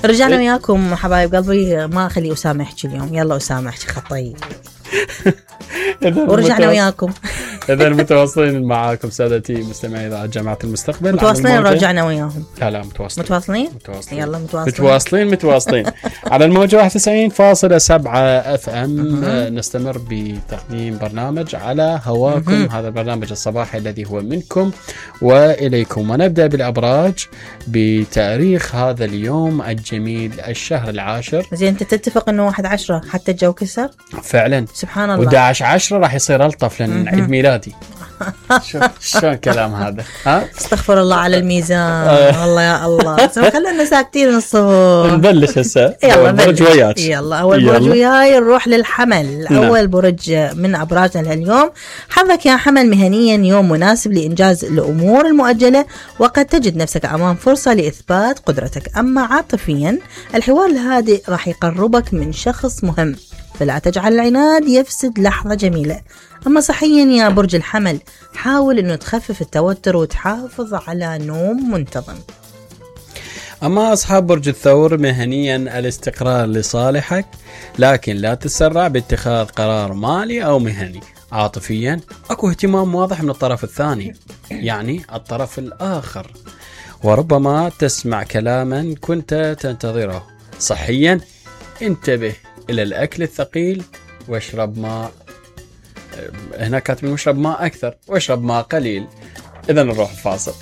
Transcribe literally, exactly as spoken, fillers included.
رجعنا وياكم حبايب قلبي. ما اخلي اسامه يحكي اليوم. يلا اسامه احكي خطي. ورجعنا وياكم. اذا متواصلين معاكم سادتي مستمعي اذاعه جامعه المستقبل. متواصلين رجعنا وياهم. لا لا متواصلين متواصلين متواصلين يلا متواصلين متواصلين متواصلين على الموجة واحد وتسعين فاصلة سبعة اف ام. نستمر بتقديم برنامج على هواكم. هذا البرنامج الصباحي الذي هو منكم واليكم. ونبدا بالابراج بتاريخ هذا اليوم الجميل الشهر العاشر. زين انت تتفق انه واحد عشرة حتى الجو كسر فعلا سبحان الله. وإحدى عشر عشرة راح يصير الطف لان عيد ميلادي. شو شو كلام هذا؟ ها استغفر الله على الميزان. والله يا الله خلينا ساكتين الصبح. نبلش هسه. يلا برج وياك. يلا اول برج وياي نروح للحمل. اول برج من ابراجنا اليوم. حظك يا حمل مهنيا يوم مناسب لانجاز الامور المؤجله وقد تجد نفسك امام فرصه لاثبات قدرتك. اما عاطفيا الحوار الهادئ راح يقربك من شخص مهم فلا تجعل العناد يفسد لحظة جميلة. أما صحيا يا برج الحمل حاول أنه تخفف التوتر وتحافظ على نوم منتظم. أما أصحاب برج الثور مهنيا الاستقرار لصالحك لكن لا تسرع باتخاذ قرار مالي أو مهني. عاطفيا أكو اهتمام واضح من الطرف الثاني يعني الطرف الآخر وربما تسمع كلاما كنت تنتظره. صحيا انتبه إلى الأكل الثقيل واشرب ماء. هنا كاتبين واشرب ماء أكثر واشرب ماء قليل. إذا نروح الفاصل.